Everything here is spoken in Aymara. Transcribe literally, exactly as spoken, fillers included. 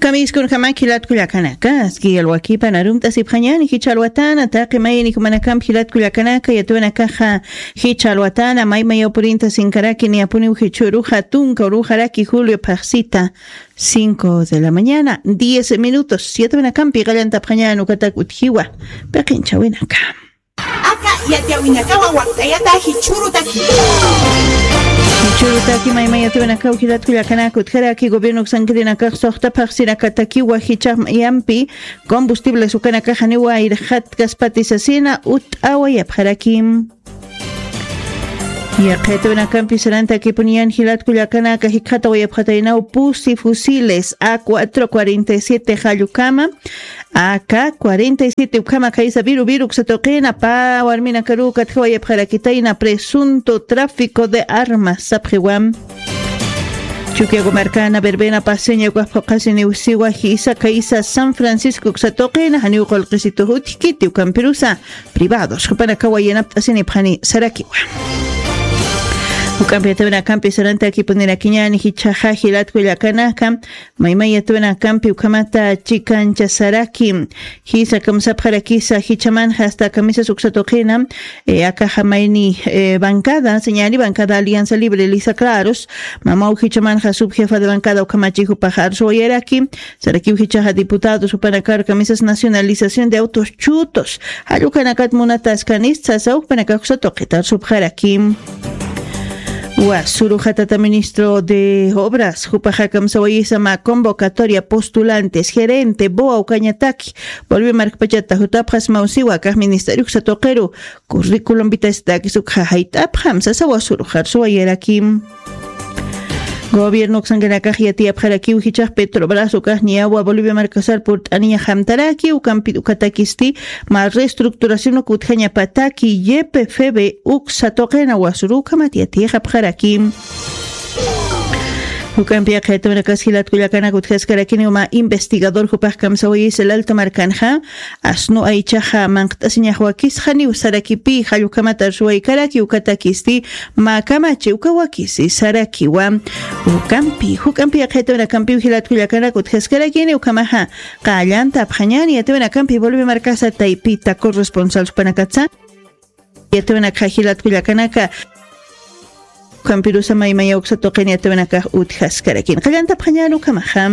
Kamiskunjamaki jilat kullakanaka, aski alwakipan arumt'asipxañani jichha alwatana, taqi mayni jumanakampi jilat kullakanaka, yatwanakaxa jichha alwatana, may mayaw purinta sinkaraki, niyapuniw jichhüruxa tunka uruxaraki julio phaxsita, cinco de la mañana, diez minutos, yatwanakampi qallantapxañan ukatak utjiwa, peqinchhawinaka. Aka yatiyawinakawa wakt'ayata jichhürutaki. Jichhürutaki mayma yatiyawinakaw jilat kullakanaka utjaraki gobierno uksankirinakax suxta phaxsirakatakiwa jichhax mayampi combustibles ukanakax janiwa irxatkaspati sasina ut'awayapxarakim. Yaqha yatiyawinakampi sarantakipuniyan jilat kullakanaka jikxatawayapxataynaw pusi fusiles A cuatro cuarenta y siete jallukama, A K cuarenta y siete ukhama khaysa viru viru uksa tuqina pä warminakaruw katjawayapxarakitayna presunto tráfico de armas sapxiwam. Chukiyago markana verbena paseña ukax phuqhasiniw siwa jisa khaysa San Francisco uksa tuqina janiw qullqisitux utjkiti ukampirusa privados jupanakawa yanapt'asinipxani sarakiwa. Juk'ampi yatiyawinakampi sarantakipunirakiñani jichhaxa jilat kullakanaka, mayma yatiyawinakampi ukhamata chikanchasaraki. Jisa kamsapxarakisa jichhamanxa hasta kamisas uksa tuqina, eh, akaxa mayni, eh, bancada, señani bancada Alianza Libre Lisa Claros, mamaw jichhamanxa subjefa de bancada ukhamachi jupax arsuwayaraki, sarakiw jichhaxa diputados jupanakar kamisas nacionalización de autos chutos, jallukanakat munataskanis sasa jupanakax uksa tuqita arsupxaraki. Wasüruxa tata ministro de obras, jupaxa kamsawayisa mä convocatoria postulantes, gerente, boa ukañataki, Bolivia markpachata jutapxasmaw siwa akax ministerio uksa tuqiru, curriculum vitae sitakis ukxa jayt'apxam sasa wasürux arsuwayarakim. Gobierno uksankanakax yatiyapxarakiw jichhax Petrobras ukax niyawa Bolivia markasar purt'aniñaxamtaraki, ukampit ukatakisti mä reestructuración uk utjañapataki Y P F B uksa tuqina wasürux ukhamat yatiyxapxarakim. Juk'ampi yaqha yatiyawinakas jilat kullakanak utjaskarakiniw mä investigador jupax kamsawayisa el Alto markanxa, asnu aychaxa manqt'asiñax wakisxaniw sarakipï, jallukhamat arsuwaykaraki ukatakisti mä kamachi uka wakisi sarakiwa. Ukampi, juk'ampi yaqha yatiyawinakampiw jilat kullakanak utjaskarakini ukhamaxa qallantapxañani yatiyawinakampi Bolivia markasa taypita corresponsal jupanakatsa. Yatiyawinakxa jilat kullakanaka, ukampirusa mayma uksa tuqin yatiyawinakax utjaskarakini. Qallantapxañan ukhamaxa.